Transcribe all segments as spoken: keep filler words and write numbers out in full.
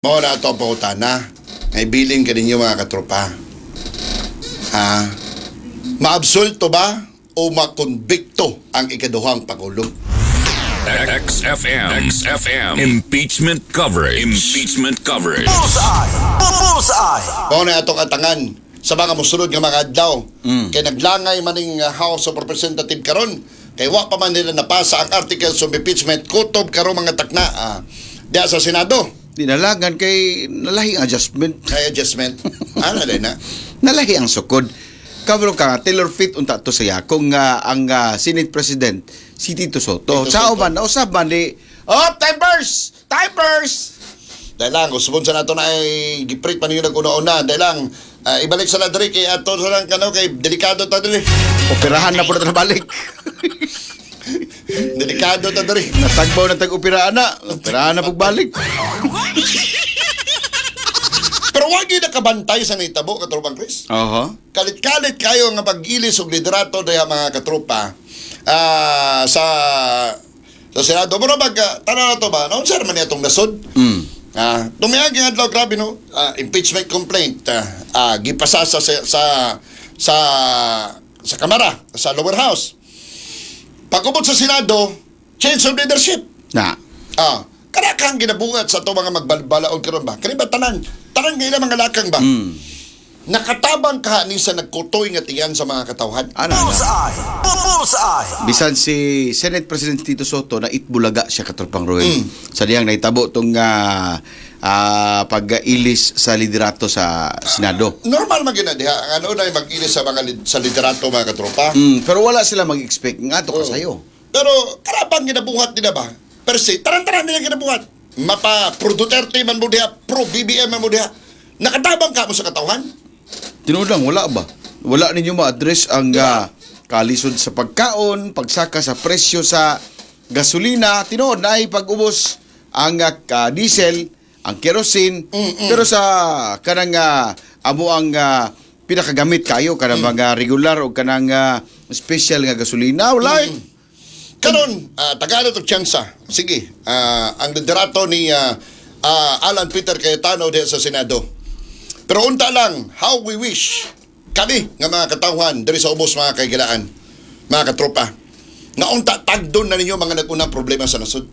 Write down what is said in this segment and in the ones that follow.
Mao na ato ang pangutana. Ngay bilin ka ninyo, mga katropa. Ha? Maabsulto ba o makonbikto ang ikaduhang pangulo? X F M. X F M. Impeachment coverage. Impeachment coverage. Bullseye! Bullseye! Mao na atong atangan sa mga musunod nga mga adlaw. Kay naglangay maning uh, House of Representative karon kay wa pa man nila napasa ang articles of impeachment kutob karon, mga takna, ah, diya sa Senado. Di nalagan kay nalahi ang adjustment. Kay adjustment. Ano din na? Nalahi ang sukod. Kabalo ka, tailor fit unta to saya kung ah, ang ah, Senate President si Tito Sotto. Tito Sa Sotto. uban, nausab man di, "Oh, timers! Timers!" Dahil lang, kung sa nato na ay giprit pa ninyo nag-una-una. Dahil lang, ah, ibalik sa ladri kay ato sa lang kano kay delikado ta diri. Operahan na po na balik. Delikado ta diri. Natagbaw na tag-operaan na. Operahan na pagbalik. Pero wag yun nakabantay sa nahitabo, katropang Chris. Oho. Kalit-kalit kayo nga pag-ilis og liderato diha, mga katropa, ah, sa sa Senado. Mura bag, ah, tanaw na to ba? No, sir, man itong nasod. Mm. Ah, tumayag yung adlaw, grabe, no. Ah, impeachment complaint ah, ah, gipasa sa sa sa sa, sa Kamara, sa lower house. Pagubot sa Senado, change of leadership. Na. Ah, karakang ginabuhat sa ato mga magbalbalaod karon ba? Kani ba tanan? Tanan nga ilang mga lakang ba? Mm. Nakatabang ka ni sa nagkutoy nga tiyan sa mga katawhan. Ano na? Bullseye! Bullseye! Bisan si Senate President Tito Sotto na itbulaga siya, katropang Roel. Sa diyang naitabo tong uh, pag-ilis sa liderato sa Senado. Normal man gyud na diha. Ang ano na mag-ilis sa mga lid- sa liderato, mga katropa. Mm, pero wala sila mag-expect nga to kasayo. Pero karapang ginabuhat nila ba? Per se, taran-taran nila ginabuhat. Mapa pro Duterte man mo diha, pro B B M man mo diha. Nakatabang ka mo sa katawhan? Tinuod lang, wala ba? Wala ninyo ma-address ang ah, kalisod sa pagkaon, pagsaka sa presyo sa gasolina, tinuod na ay pag-ubos ang ah, ka- diesel, ang kerosene, pero sa kanang ah, amo ang ah, pinakagamit kayo kanang mga regular o kanang ah, special nga gasolina, wala eh. Karon, uh, Tagalog og tsansa. Sige, ah, ang liderato ni ah, ah, Alan Peter Cayetano diha sa Senado. Pero unta lang, how we wish kami nga mga katawhan diri sa ubos, mga kaigilaan, mga katropa, nga unta tagdon na ninyo mga nag-unang problema sa nasod.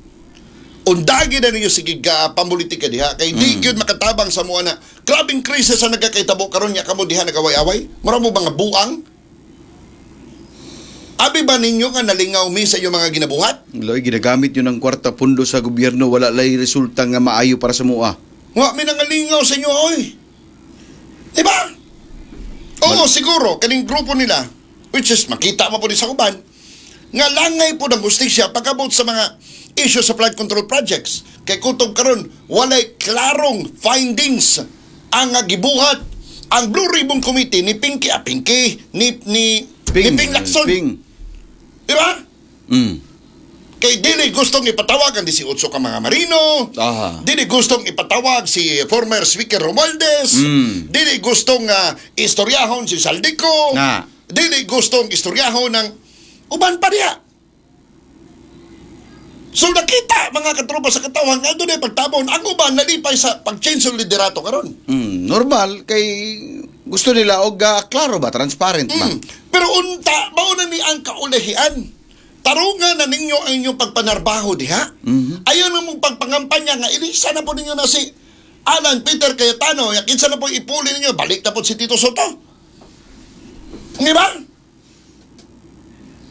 Undagi na ninyo sige ga pamulitika diha kay di gyud makatabang sa mua na grabing krisis ang nagkakaitabo karon nya kamo diha nagaway-away. Mura mo mga buang. Abi ba ninyo nga nalingaw mi sa inyong mga ginabuhat? Loy, ginagamit yun ang kwarta pundo sa gobyerno, wala lay resulta nga maayo para sa mua. Wa mi nangalingaw sa inyo, oy. Diba? Oo, siguro, kaning grupo nila, which is makita mo po din sa uban, nga langay po ng hustisya pagabot sa mga issue sa flood control projects. Kay kutob karon walay klarong findings ang nga gibuhat ang Blue Ribbon Committee ni Pinky, ah, Pinky, ni, ni, ni Ping Lacson. Ping. Diba? Mm. Kay dili gustong ipatawag ang labing-walo ka mga marino. Aha. Dili gustong ipatawag si former Speaker Romualdez. Mm. Dili gustong uh, istoryahon si Zaldy Co. Na. Dili gustong istoryahon ng uban pa niya. So nakita, mga katropa, sa katawan nga doon ay pagtabon ang uban nalipay sa pag-change ng liderato karon. Mm, normal kay gusto nila og ah, klaro ba, transparent ba? Mm. Pero unta, mao na ni ang kaulahian. Tarungan na ninyo ang inyong pagpanarbaho diha. Ayaw na mong pagpangampanya nga ilisa na po ninyo na si Alan Peter Cayetano. Kinsa na po ipuli ninyo, balik na po si Tito Sotto. Di ba?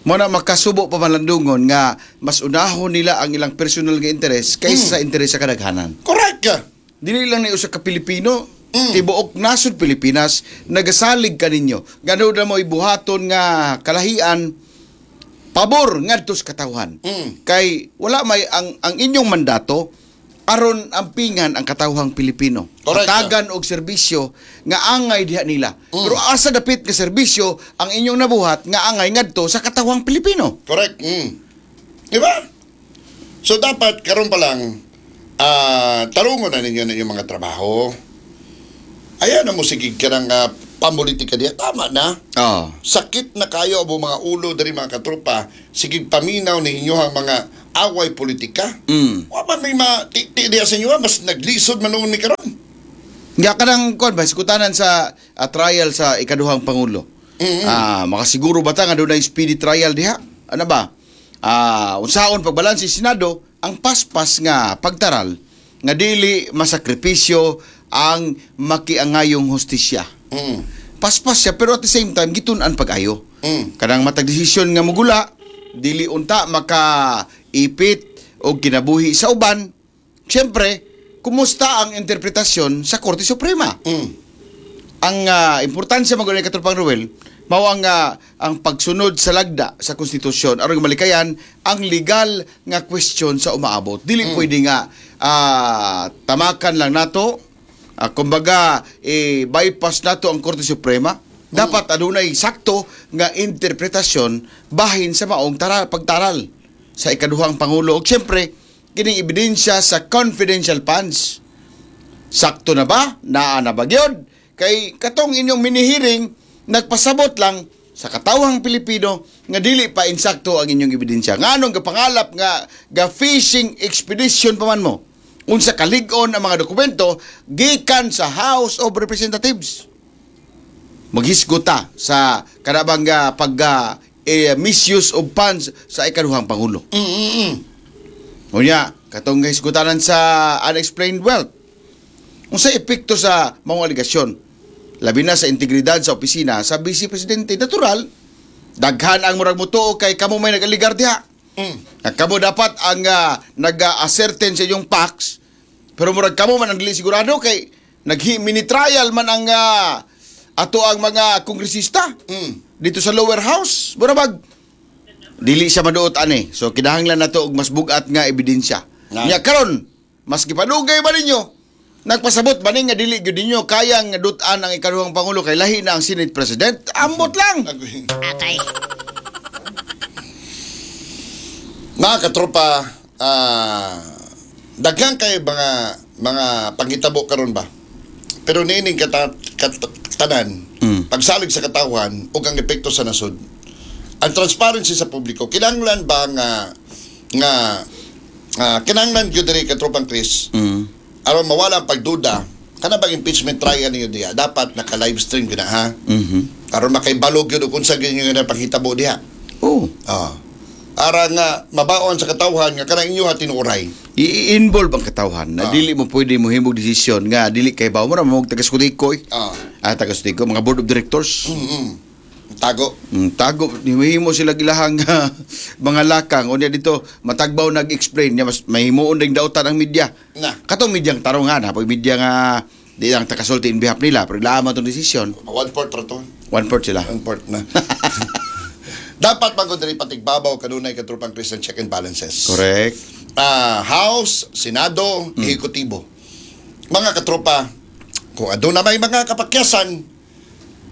Mo na makasubo pa malandungon nga mas unahon nila ang ilang personal nga interes kaysa sa interes sa kadaghanan. Correct. Dili lang ni usa ka Pilipino, tibuok nasod Pilipinas nagasalig kaninyo. Gano na mo ibuhaton nga kalahian pabor ngadto sa katawhan. Mm. Kay wala may ang ang inyong mandato aron ampingan ang katawhang Pilipino. Correct. Hatagan og serbisyo nga angay diha nila. Pero asa dapit nga serbisyo ang inyong nabuhat nga angay ngadto sa katawhang Pilipino? Correct. Mm. Di ba? So dapat karon pa lang ah tarungon na ninyo na inyong mga trabaho. Ayan na mo sige ka ng uh, pamulitika diha. Tama na. Oh. Sakit na kayo abo mga ulo diri, mga katropa, sige paminaw ninyo ang mga Away politika. Mm. Wa man may matiti diya sa inyo, ah. Mas naglisod man noon ni karon. Nga kanang kuan ba iskutanan sa ah, trial sa ikaduhang pangulo. Ah, makasiguro ba ta nga dunay speedy trial diha? Ano ba? Ah, unsaon pagbalanse sa Senado ang paspas nga pagtaral nga dili masakripisyo ang makiangayong hustisya. Mm. Paspas siya, pero at the same time gitun-an pag-ayo. Mm. Kanang matag desisyon nga mugula, dili unta makaipit og kinabuhi sa uban. Siyempre, kumusta ang interpretasyon sa Korte Suprema? Mm. Ang ah, importansya man gud ni, Katropang Ruel, mao ang ah, ang pagsunod sa lagda sa konstitusyon aron malikayan ang legal nga question sa umaabot. Dili pwede nga ah, tamakan lang nato, ah, kumbaga eh, bypass nato ang Korte Suprema. Dapat adunay sakto nga interpretasyon bahin sa maong taral, pagtaral sa ikaduhang pangulo. Ug siyempre, kining ebidensya sa confidential funds, sakto na ba? Naa na ba gyud? Kay katong inyong mini-hearing, nagpasabot lang sa katawhang Pilipino nga dili pa insakto ang inyong ebidensya. Nganong gapangalap nga ga fishing expedition pa man mo? Unsa kalig-on ang mga dokumento gikan sa House of Representatives? Maghisgot ta sa kanabang uh, pag ah, eh, misuse of funds sa ikaduhang pangulo. Mm, mm, mm. Unya, katong hisgutanan sa unexplained wealth. Unsa epekto sa mga alegasyon? Labi na sa integridad sa opisina sa Vice Presidente. Natural, daghan ang murag mutuo kay kamo may nag-aligar diha. Mm. Nga kamo dapat ang uh, nag-ascertain sa inyong facts, pero murag kamo man ang dili sigurado kay nag mini trial man ang ah, ato ang mga kongresista Mm. dito sa lower house. Mura bag dili siya maduot ani. So kinahanglan nato og mas bugat nga ebidensya. Na. Nya karon, maski padugay ba ninyo? Nagpasabot ba ni nga dili gyud ninyo kayang dut-an ang ikaduhang pangulo kay lahi na ang Senate President? Ambot lang. Atay. Mga katropa, ah, daghan kay mga mga panghitabo karon ba? Pero niining kata, kat, tanan, Mm. pagsalig sa katawhan ug ang epekto sa nasod. Ang transparency sa publiko, kinahanglan ba nga nga ah, kinahanglan gyud diri, Katropang Chris, Mm. aron mawala ang pagduda kana bang impeachment trial ninyo diha, dapat naka live stream gyud na, ha, Mhm. aron makaibalo gyud og unsa gyud nga panghitabo diha. Oh. Ah. Ara nga mabaon sa katawhan nga kanang inyo ha tinuoray. I-involve ang katawhan na Ah. dili mo pwede mo himog desisyon nga dili kay bawo mo ra mo taga Sutiko eh. Ah. Ah, taga Sutiko, mga board of directors. Mm. Tago. Mm, tago himo sila gilahang ah, mga lakang unya dito matagbaw nag-explain niya, mas mahimuon ding dautan ang media. Na. Katong medyang tarong nga na, pag media nga di lang takasulti in behalf nila, pero ilaman tong desisyon, One fourth ra to. One fourth sila. One fourth na. Dapat bago diri patigbabaw kanunay, Katropang Christian, check and balances. Correct. Ah, House, Senado, Ehekutibo. Mga katropa, kung aduna may mga kapakyasan,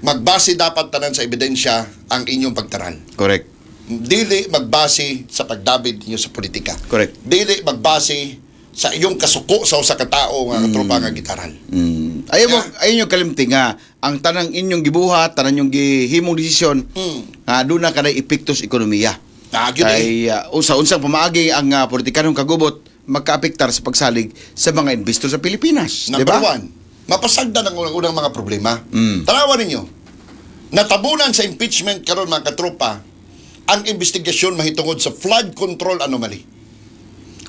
magbase dapat tanan sa ebidensya ang inyong pagtaral. Correct. Dili magbase sa pagdabid ninyo sa politika. Correct. Dili magbase sa iyong kasuko sa usa ka tawo nga katropa nga gitaral. Mm. Ayaw mo, Yeah. ayaw nyo kalimti nga ang tanang inyong gibuhat, tanang inyong gihimong desisyon, Mm. nga doon na kanay epekto sa ekonomiya. Ah, gyud eh. Kay uh, usa unsang pamaagi ang uh, politikanong kagubot magkaapektar sa pagsalig sa mga investor sa Pilipinas, di Number ba? one, mapasagdan ang unang-unang mga problema. Mm. Tanawa ninyo, natabunan sa impeachment karon, mga katropa, ang investigasyon mahitungod sa flood control anomaly.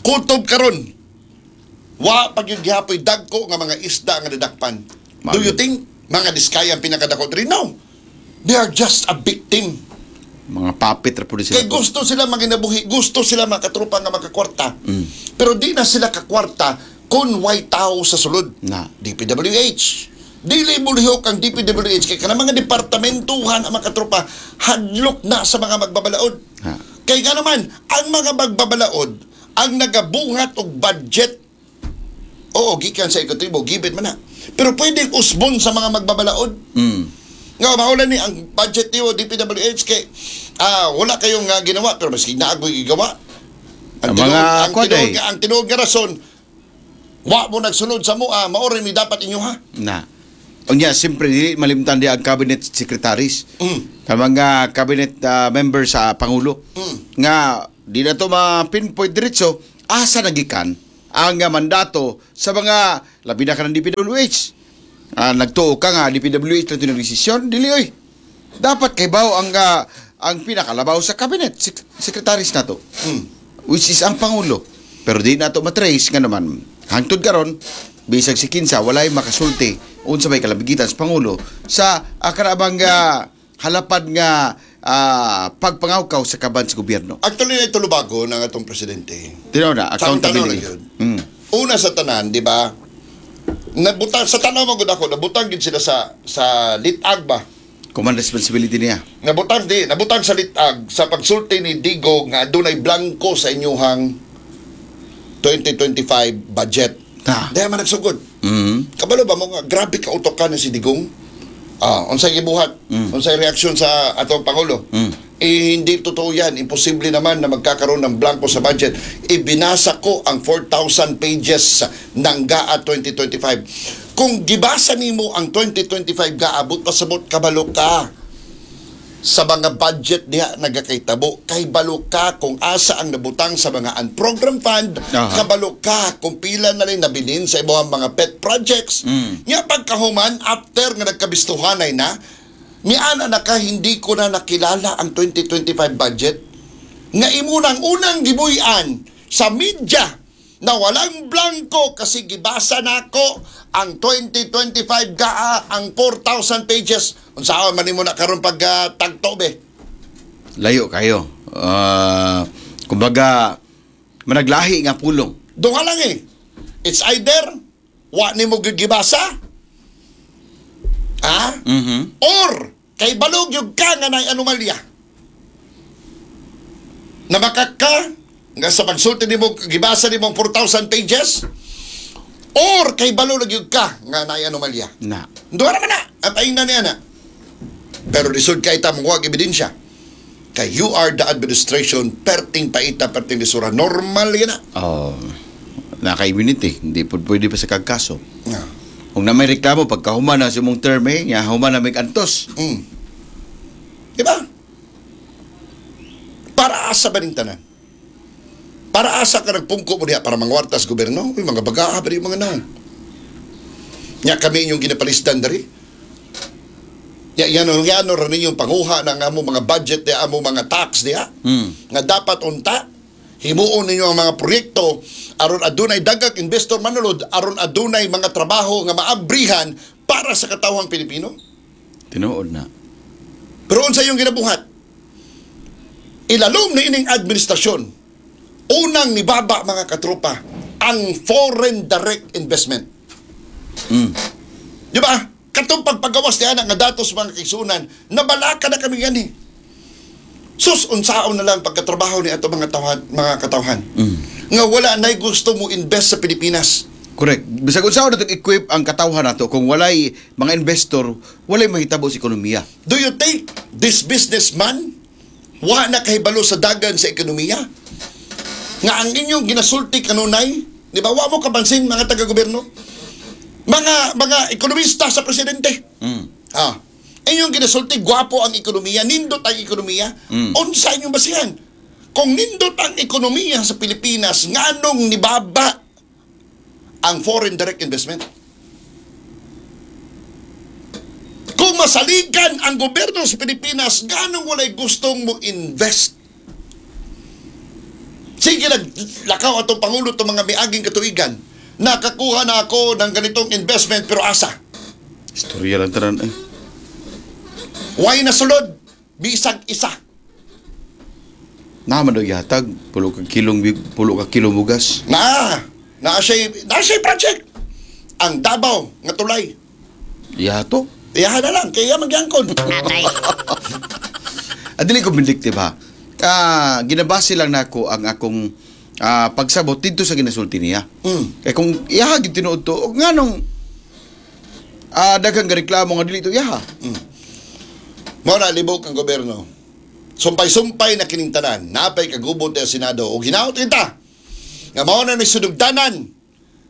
Kutob karon, wa pag yung gihapoy dagko nga mga isda nga nadakpan. Do you Mao. think mga Diskaya ang pinakadako diri? No. They are just a victim. Mga puppet ra pud sila. Kay gusto sila maginabuhi, gusto sila mga katropa nga makakwarta. Mm. Pero di na sila kakwarta kung way tao sa sulod. Na. D P W H. Dili mulihok ang D P W H kay kanang mga departamentuhan ang mga katropa hadlok na sa mga magbabalaod. Ha. Kay nga naman, ang mga magbabalaod ang nagabuhat og budget. Oo, gikan sa ekutibo, gibit man na. Pero pwedeng usbon sa mga magbabalaod. Mm. Nga maulan ni ang budget niyo D P W H kay ah wala kayong uh, ginawa, pero maski na ako'y gigawa. Ang Ang, mga tinuod, ang kwan tinuod, eh. nga- ang tinuod nga rason wa mo nagsunod sa mua, mao rin ni dapat inyo ha. Na. Unya, siyempre, dili malimtan di ang cabinet secretaries. Mm. Ang mga cabinet ah, member sa Pangulo. Mm. Nga, di na to ma-pinpoint diretso asa nagikan ang ah, mandato sa mga labi na ka ng D P W H. Ah, nagtuo ka nga D P W H na ito ng desisyon, dili oy. Dapat kay baw ang ah, ang pinakalabaw sa cabinet, sek- secretaries nato. Which is ang pangulo. Pero di nato matrace nga naman. Hangtod karon, bisag si kinsa walay makasulti unsa may kalabigitan sa pangulo sa uh, kanabang ah, halapad nga ah, pagpangawkaw sa kaban sa gobyerno. Actually, na tulubago ng atong presidente. Tinaw na, Sa akong tanaw accountability. lang yun. Mm. Una sa tanan, di ba? Nabutang sa tanaw mo gud ako, nabutang gid sila sa sa litag ba? Command responsibility niya. Nabutang di, nabutang sa litag sa pagsulti ni Digong nga adunay blanko sa inyuhang twenty twenty-five budget. Ta. Dahil man nagsugod. Mm. Kabalo ba mo nga grabe ka utokan ni si Digong? Ah, unsay gibuhat? Unsay reaksyon sa atong pangulo? Mm. Eh, hindi totoo yan. Imposible naman na magkakaroon ng blanko sa budget. Ibinasa ko ang four thousand pages ng G A A twenty twenty-five. Kung gibasa nimo ang twenty twenty-five G A A, but pasabot kabalo ka sa mga budget diha nagakaitabo, kay balo ka kung asa ang nabutang sa mga unprogrammed fund. Aha. Kabalo ka kung pila na rin nabilin sa imong mga pet projects. Mm. Nya pagkahuman, after nga nagkabistuhanay na miana na ka, "Hindi ko na nakilala ang twenty twenty-five budget," nga imunang unang gibuy-an sa media na walang blanko kasi gibasa nako ang twenty twenty-five G A A, ang four thousand pages. Unsaon man nimo na karon pag uh, tagto be? Layo kayo. Ah, kumbaga, managlahi nga pulong. Duha lang eh. It's either wa nimo gyud gibasa, ah, Mhm. or kay balog yung ka nga nay anomalya. Namakak ka nga sa pagsulti nimo gibasa nimo ang four thousand pages, or kay balo gyud ka nga nay anomalya. Na. Duha naman na. Ang paingna niya na. Pero lisod kay ta mo ebidensya. Kay you are the administration, perting paita, perting lisura. Normal yun na. Oh, naka-immunity. Hindi po pwede pa sa kagkaso. Nga. Kung na may reklamo, pagkahuman na sa imong term eh, nga human na may antos. Mm. Diba? Para asa ba ning tanan? Para asa ka nagpungko mo diha para mangwartas gobyerno? Uy, mga bagaa ba yung mga naong? Nya kami inyong ginapalisdan dari. Ya, yan, yan, ra ninyong panguha ng amo mga budget diha, amo mga tax diha. Mm. Nga dapat unta himuon ninyo ang mga proyekto aron adunay daghang investor manulod, aron adunay mga trabaho nga maabrihan para sa katawhang Pilipino. Tinuod na. Pero unsa yung ginabuhat? Ilalom ni ining administrasyon. Unang nibaba, mga katropa, ang foreign direct investment. Mm. Di ba? Katong pagpagawas niya nga datos, mga kaigsuonan, nabalaka na kami gani. Sus, unsaon na lang pagkatrabaho ni ato mga tawhan, mga katawhan. Mm. Nga wala na'y gusto mo invest sa Pilipinas. Correct. Bisag unsaon nato equip ang katawhan nato, kung walay mga investor, walay mahitabo sa ekonomiya. Do you think this businessman wa na kahibalo sa dagan sa ekonomiya? Nga ang inyong ginasulti kanunay, di ba? Wa mo kapansin mga taga-gobyerno? Mga mga ekonomista sa presidente. Mm. Ah. Inyong ginasulti, gwapo ang ekonomiya, nindot ang ekonomiya. Mm. Unsa inyong basihan? Kung nindot ang ekonomiya sa Pilipinas, nganong nibaba ang foreign direct investment? Kung masaligan ang gobyerno sa Pilipinas, ganong walay gustong mo invest? Sige, naglakaw atong Pangulo itong mga miaging katuigan. "Nakakuha na ako ng ganitong investment," pero asa? Istorya lang tanan eh. Why nasulod? Bisag isa. Naman daw yatag, pulo ka kilong pulo ka kilo bugas. Na, na siya, na siya project. Ang Davao nga tulay. Yato. Iyahan na lang, kaya magyangkon. Ah, dili ko vindictive ha. Ah, ginabase lang nako ang akong ah, pagsabot dito sa ginasulti niya. Mm. Kay kung iyaha gid tinuod to, og nganong ah daghang reklamo nga dili to iyaha? Mao na libok ang gobyerno. Sumpay-sumpay na kining tanan, napay kagubot sa Senado o hinaot kita nga mao na ni sunugdanan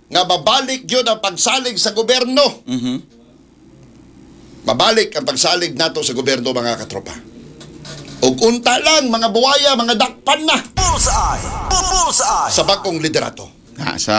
nga babalik yun ang pagsalig sa gobyerno. Mhm. Mabalik ang pagsalig nato sa gobyerno, mga katropa. Ug unta lang mga buwaya, mga dakpan na Bullseye! Bullseye! sa bagong liderato. Ha, sa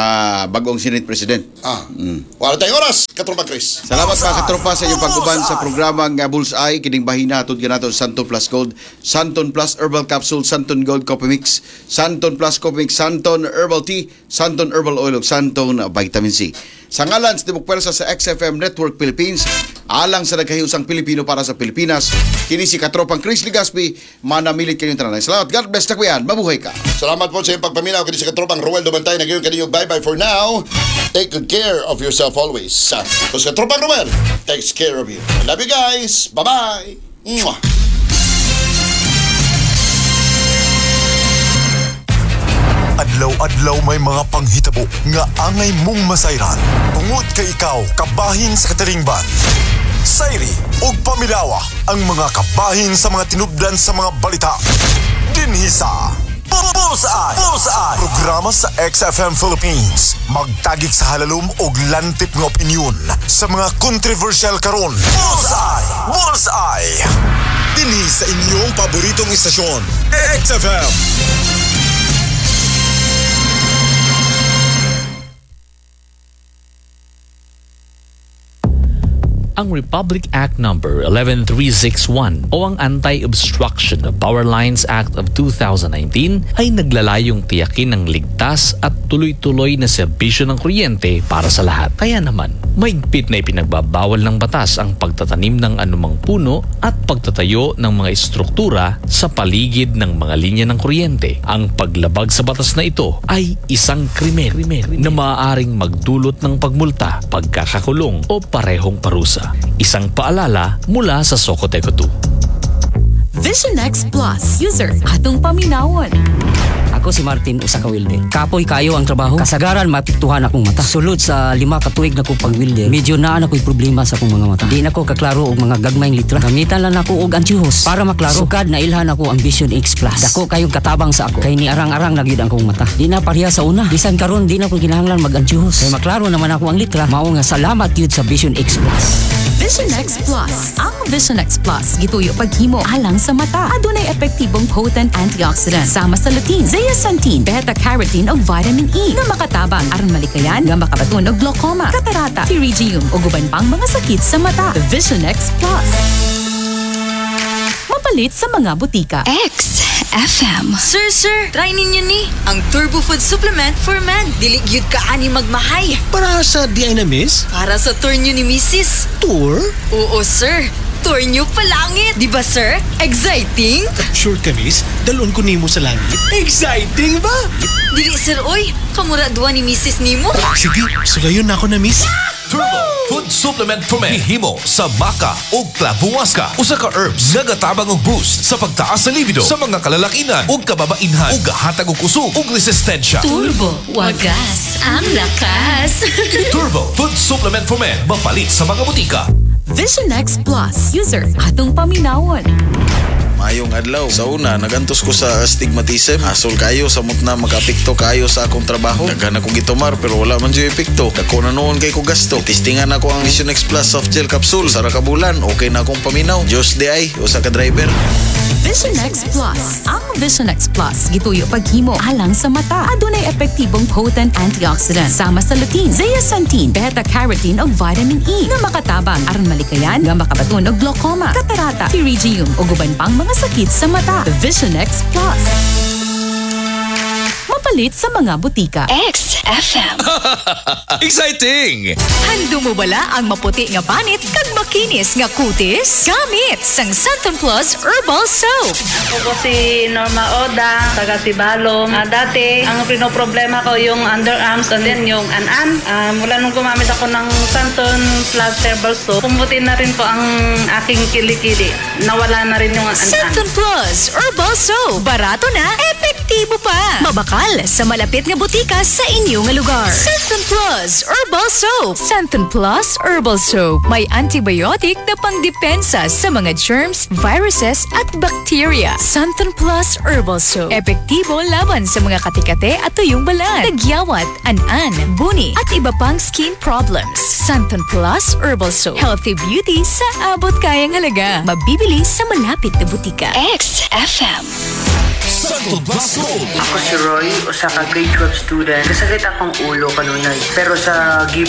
bagong Senate President. Ah. Wala tayong oras, Katropa Chris. Salamat mga katropa sa inyong pag-uban sa programang uh, Bullseye. Kining bahina atud kanato Santon Plus Gold, Santon Plus Herbal Capsule, Santon Gold Coffee Mix, Santon Plus Coffee Mix, Santon Herbal Tea, Santon Herbal Oil ug Santon Vitamin C. Sa ngalan sa Tibok Pwersa sa X F M Network Philippines, alang sa nagkahiusang Pilipino para sa Pilipinas, kini si Katropang Chris Legaspi, manamilit kayong tanan. Salamat. God bless, takwian. Mabuhay ka. Salamat po sa iyong pagpaminaw. Kini si Katropang Ruel Dumantay. Nag-iingon kaninyo bye-bye for now. Take good care of yourself always. Because Katropang Ruel takes care of you. I love you guys. Bye-bye. Mwah. Adlaw-adlaw may mga panghitabo nga angay mong masayran. Tungod kay ikaw kabahin sa katilingban. Sayri ug paminawa ang mga kabahin sa mga tinubdan sa mga balita. Dinhi sa Bullseye! Bullseye! Programa sa X F M Philippines. Magtagik sa halalom og lantip nga opinyon sa mga controversial karon. Bullseye! Bullseye! Dinhi sa inyong paboritong istasyon, X F M. Ang Republic Act Number one one three six one o ang Anti-Obstruction of Power Lines Act of twenty nineteen ay naglalayong tiyakin ang ligtas at tuloy-tuloy na serbisyo ng kuryente para sa lahat. Kaya naman, mahigpit na ipinagbabawal ng batas ang pagtatanim ng anumang puno at pagtatayo ng mga istruktura sa paligid ng mga linya ng kuryente. Ang paglabag sa batas na ito ay isang krimen na maaaring magdulot ng pagmulta, pagkakakulong o parehong parusa. Isang paalala mula sa Socoteco two. Vision X Plus. User, atong paminawon. Ako si Martin, usa ka welder. Kapoy kayo ang trabaho. Kasagaran maapektuhan akong mata. Sulod sa lima ka tuig na kong pag-welder, medyo naa na ko'y problema sa akong mga mata. Di na ko kaklaro og mga gagmayng litra. Gamitan lang nako og antihos para maklaro. Sukad na ilhan ako ang Vision X Plus. Dako kayong katabang sa ako. Kay ni arang-arang na gyud ang akong mata. Di na pareha sa una. Bisan karon di na ko kinahanglan mag-antihos. Kay maklaro naman ako ang litra. Mao nga salamat gyud sa Vision X Plus. Vision X Plus. Ang Vision X Plus, gituyo paghimo alang sa mata. Adunay epektibong potent antioxidant sama sa lutein, zeaxanthin, beta-carotene ug vitamin E nga makatabang aron malikayan nga makabaton og glaucoma, katarata, pterygium ug uban pang mga sakit sa mata. Vision X Plus. Mapalit sa mga butika. X F M. Sir, sir, try ninyo ni ang Turbo Food Supplement for Men. Dili gyud ka ani magmahay. Para sa di ay na, miss? Para sa tour nyo ni Missus Tour? Oo, sir. Tour nyo palangit. Di ba, sir? Exciting? Sure ka, miss? Dalon ko nimo sa langit. Exciting ba? Dili, sir, oy. Kamura duwa ni Missus nimo. Sige, sulayon na ako na, miss. Turbo Food Supplement for Men. Himo sa maca o clavuasca. Usa ka herbs nga gatabang og boost sa pagtaas sa libido sa mga kalalakinan ug kababainhan ug gahatag og kusog ug resistensya. Turbo, wagas ang lakas. Turbo Food Supplement for Men. Mapalit sa mga butika. Vision X Plus. User, atong paminawon. Maayong adlaw. Sa una, nagantos ko sa astigmatism. Hasol kayo, samot na makapikto kayo sa akong trabaho. Daghan ako gitumar pero wala man jud epekto. Dako na noon kay ko gasto. Testingan ako ang Vision X Plus soft gel capsule. Sa ka bulan, okay na akong paminaw. Diyos di ay, usa ka driver. Vision X Plus. Ang Vision X Plus, gituyo paghimo alang sa mata. Adunay epektibong potent antioxidant sama sa lutein, zeaxanthin, beta-carotene ug vitamin E nga makatabang aron malikayan nga makabaton og glaucoma, katarata, pterygium ug uban pang mga sakit sa mata. Vision X Plus. Mapalit sa mga butika. X F M. Exciting! Handom mo bala ang maputi nga panit kag makinis nga kutis? Gamit sang Santon Plus Herbal Soap. Ako po si Norma Oda, taga Sibalom. Ah, dati, ang pinoproblema ko yung underarms and then yung an-an. Ah, mula nung gumamit ako ng Santon Plus Herbal Soap, pumuti na rin po ang aking kilikili. Nawala na rin yung an-an. Santon Plus Herbal Soap. Barato na, epektibo pa. Mabakal sa malapit nga butika sa inyong inyo nga lugar. Xanthone Plus Herbal Soap. Xanthone Plus Herbal Soap. May antibiotic na pangdepensa sa mga germs, viruses at bacteria. Xanthone Plus Herbal Soap. Epektibo laban sa mga katikate at tuyong balat, tagyawat, an-an, buni at iba pang skin problems. Xanthone Plus Herbal Soap. Healthy beauty sa abot kayang halaga. Mabibili sa malapit na butika. X F M. Xanthone Plus Gold. Ako si Roy, usa ka grade twelve student. Kasakit akong ulo kanunay. Pero sa gift